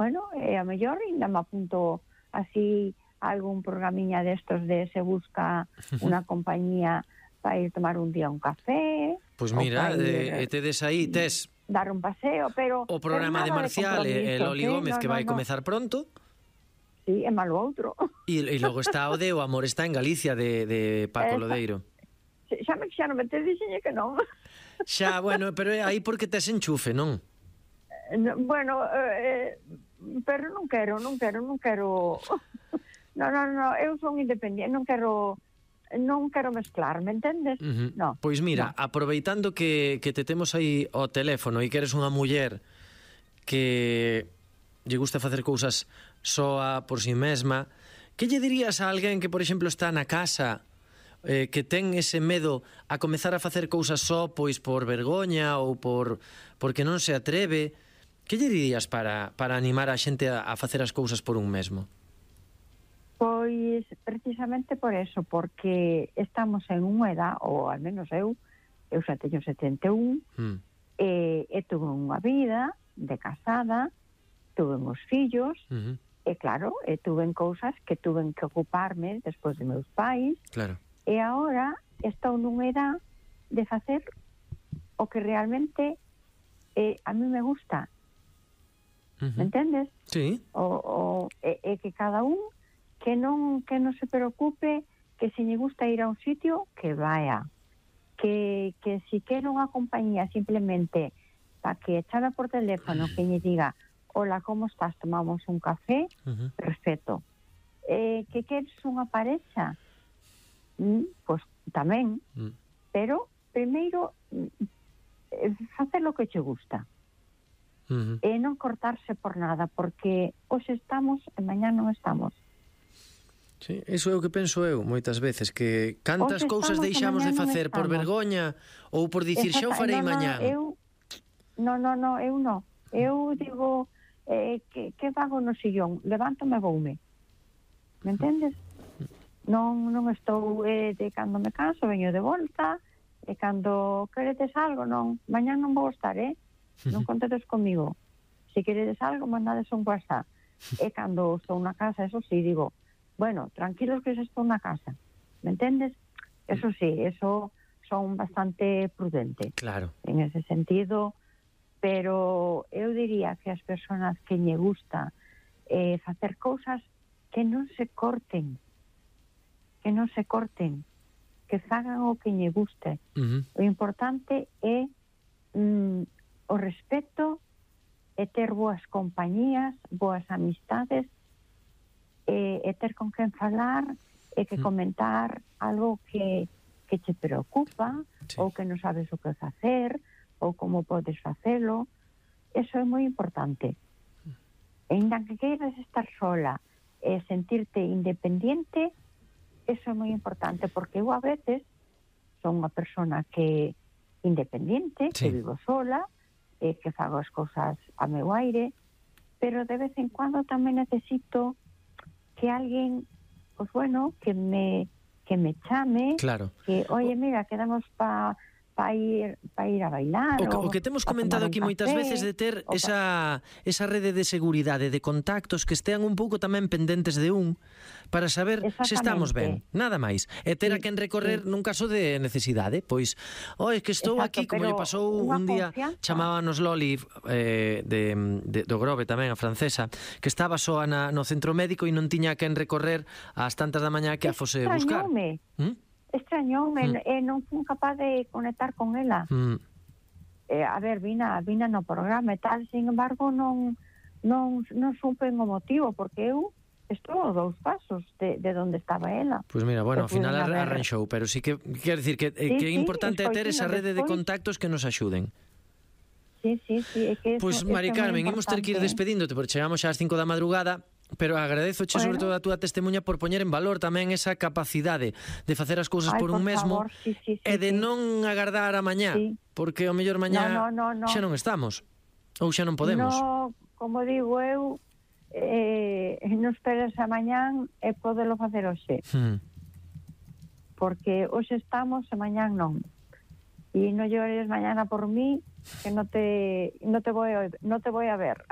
bueno, a mellor ainda me apunto así a algún programiña destos de se busca unha compañía para ir tomar un día un café. Pois mira, tedes aí, tes dar un paseo, pero o programa de Marcial e Loli Gómez que vai comezar pronto. Sí, é malo outro. E logo está o de O amor está en Galicia de Paco Lodeiro. Xa non me te dixenlle que non. Xa, bueno, pero é aí porque tes enchufe, non? Bueno, pero non quero. Non, eu son independiente, non quero mezclar, me entendes? No. Pois mira, aproveitando que te temos aí ao teléfono e que eres unha muller que lle gusta facer cousas soa por si mesma, que lle dirías a alguén que, por exemplo, está na casa, que ten ese medo a comezar a facer cousas só, pois por vergoña ou porque non se atreve? Que lle dirías para animar a xente a facer as cousas por un mesmo? Pois precisamente por eso, porque estamos en unha edad, ou al menos eu xa teño 71, e tuve unha vida de casada, tuve uns fillos, e claro, tuve cousas que tuve que ocuparme despois de meus pais, claro. E agora estou nunha edad de facer o que realmente a mí me gusta, me entendes? Sí. E que cada un que non se preocupe, que se lle gusta ir a un sitio, que vaya. Que si quere unha compañía simplemente para que chame por teléfono, que lle diga, hola, como estás, tomamos un café, perfecto. Que queres unha parexa, pois tamén, pero primeiro facer o que che gusta. E non cortarse por nada, porque hoxe estamos e mañá non estamos. Sí, iso é o que penso eu moitas veces, que cantas cousas deixamos de facer por vergoña ou por dicir xa o farei mañá. Eu non. Eu digo que fago no sillón, levántome e voume. Me entendes? Non estou de cando me canso, veño de volta, e cando queredes algo, non, mañá non vou estar, non contedes comigo. Se queredes algo, mandades un WhatsApp. E cando estou na casa, eso sí, digo, bueno, tranquilos que xa estou na casa, me entendes? Eso sí, eso son bastante prudente. Claro. En ese sentido, pero eu diría que as persoas que lle gusta facer cousas que non se corten, que fagan o que lle guste. O importante é o respeto e ter boas compañías, boas amistades, e ter con quen falar e que comentar algo que te preocupa, ou que non sabes o que facer, ou como podes facelo. Eso é moi importante. E ainda que queiras estar sola e sentirte independiente, eso é moi importante, porque eu a veces son unha persona que independiente, que vivo sola, que fago as cousas a meu aire, pero de vez en cuando tamén necesito que alguén, pues bueno, que me chame, claro. Que, oye, mira, quedamos para ir a bailar. O que temos comentado aquí moitas veces de ter esa rede de seguridade, de contactos que estean un pouco tamén pendentes de un, para saber se estamos ben, nada máis. E ter a quen recorrer nun caso de necesidade, pois, é que estou aquí, como lle pasou un día, chamábanos Loli do Grove tamén, a francesa, que estaba soa no centro médico e non tiña a quen recorrer ás tantas da mañá que a fose buscar. Extrañoume, non fui capaz de conectar con ela. A ver, vina no programa e tal, sin embargo, non supe o motivo, porque eu estou a 2 pasos de onde estaba ela. Pois mira, bueno, ao final arranxou, pero sí que quero dicir que é importante ter esa rede de contactos que nos axuden. Sí, pois, Mari Carmen, imos ter que ir despedíndote, porque chegamos xa ás 5 da madrugada. Pero agradezoche sobre todo a túa testemunha por poñer en valor tamén esa capacidade de facer as cousas por un mesmo e de non agardar a mañá, porque ao mellor mañá xa non estamos ou xa non podemos. No, como digo eu, non esperes a mañán e podelo facer hoxe. Porque hoxe estamos e mañán non. E non llores mañana por mí, que non te voy a ver.